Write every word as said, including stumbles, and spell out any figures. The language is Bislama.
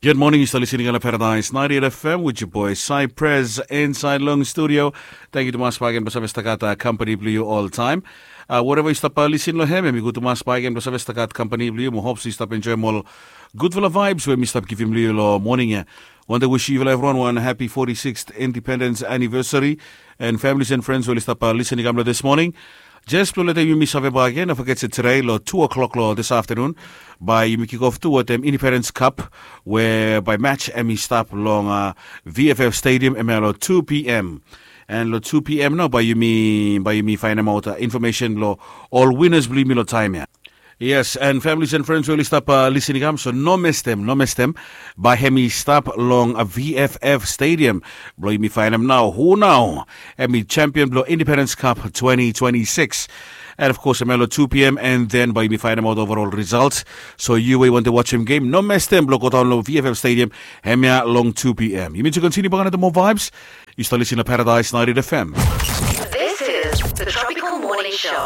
Good morning, yu stap listening long Paradise ninety-eight F M with your boy Cypress inside long studio. Thank you tumas bak again blong save stap gat uh, company blong yu all time. Uh, wherever yu stap uh, listen long him, em i good tumas bak again blong save stap gat company blong yu. Mo hope yu stap enjoy ol gudfala vibes we mi stap givim blong yu long morning ya. Want to wish you everyone one happy forty-sixth independence anniversary and families and friends we stap uh, listening kam long this morning. Jes blong letem yumi save bak again, no forget se today long two o'clock long this afternoon, bae yumi kick off tu wetem Independence Cup, we bae match em i stap long uh, V F F Stadium em ya long two P M. And long two P M nao bae yumi bae yumi fainemaot uh, information long ol winners blong yumi long taem ya. Yes, and families and friends we oli stap uh, listening kam, so no mestem, no mestem. Bae hem i stap long uh, V F F Stadium. Blong yumi fainem nao, hu nao? Hem i champion blong Independence Cup twenty twenty-six. And of course, hem ya long two P M, and then bae yumi fainemaot overall results. So yu we want to watch him game, no mestem blong go down long V F F Stadium, hem ya long two P M. Yumi to continue bak another more vibes. Yu stap listening long Paradise ninety-eight F M. This is the Tropical Morning Show